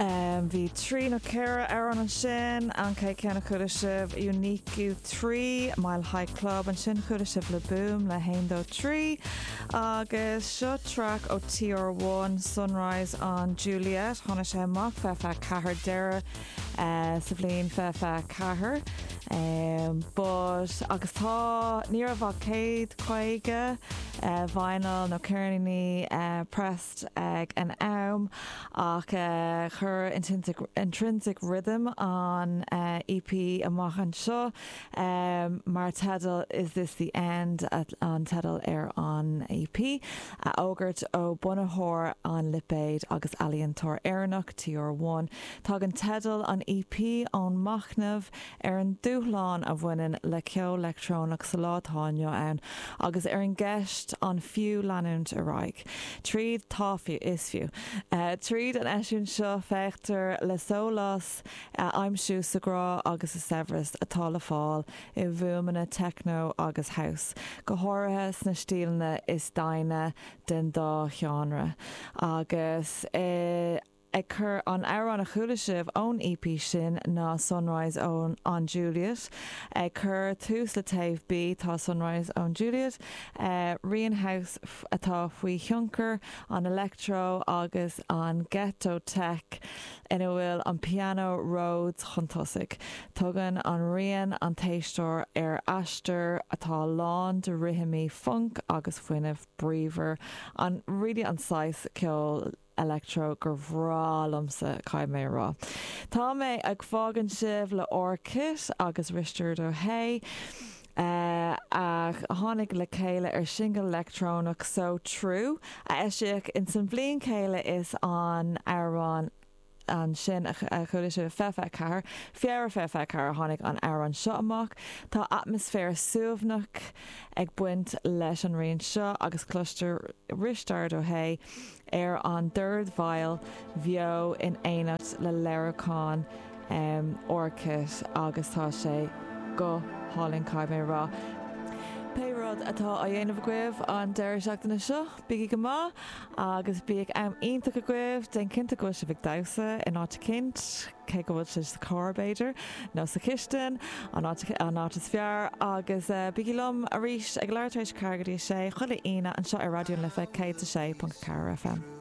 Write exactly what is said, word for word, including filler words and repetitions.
Um, bhí trí nó ceithre amhrán ansin an chéad cheann a chuala sibh Unique trí Mile High Club ansin chuala sibh Le Boom le haon dó trí agus seo track ó TR one Sunrise on Juliet tháinig sé amach fe fe ceathair deireadh uh, sa bhliain fe fe ceathair. Um, but agus tá ní raibh ach céad caoga uh, vinyl nó ceirníní uh, pressed ag an am ach uh, chuir Intrinsic, Intrinsic Rhythm an uh, E P amach anseo um, mar teideal Is This the End at, an teideal ar an E P a fhógairt ó bunaitheoir an lipéid agus ealaíontóir Éireannach T R one. Tagann teideal an E P ón machnamh ar an dúshlán a bhaineann le ceol leictreonach sa lá atá inniu ann agus ar an gceist an fiú leanúint ar aghaidh. Tríd tá fiú is fiú. Uh, tríd an eisiúint seo féachtar le sólás uh, aimsiú sa grá agus sa saibhreas atá le fáil i bhfuaimeanna techno agus house. Go háirithe sna stíleanna is doimhne den dá sheánra. Agus eh, ag cur an amhrán a chuala sibh ón E P sin ná Sunrise ón on Juliet. Ag cur tús le taobh B tá Sunrise on Juliet, uh, rian house atá faoi thionchar an electro agus an ghetto tech ina bhfuil an piano Rhodes chun tosaigh. Tugann an rian an t-éisteoir ar aistear atá lán de rithimí funk agus fuinneamh bríomhar an really an saghas ceol electro gur bhreá liomsa caithfidh mé rá. Tá mé ag fágaint sibh le Orchid agus Risteard Ó Sé. Uh, a tháinig le chéile ar single leictreonach So True a eisíodh in san bhliain chéile is an amhrán ansin a chuala sibh fiche ceathair Feabhra fiche ceathair tháinig an amhrán seo amach tá atmaisféar suaimhneach ag baint leis an rian seo agus cloistear Risteard Ó Sé ar an dordveidhil bheo in éineacht le léiriúchán um, Orchid agus tá sé go hálainn caithfidh mé rá. Pé rud atá á dhéanamh agaibh an deireadh seachtaine seo, bígí go maith agus bíodh am iontach agaibh déan cinnte go bhfuil sibh ag damhsa in áit éicint, cé go bhfuil sibh sa car b'fhéidir, nó sa chistin an an áit is fearr agus uh, bígí liom arís ag leathuair tar éis ceathair go dtí sé chuile Aoine anseo ar Raidió na Life céad a sé ponc ceathair F M.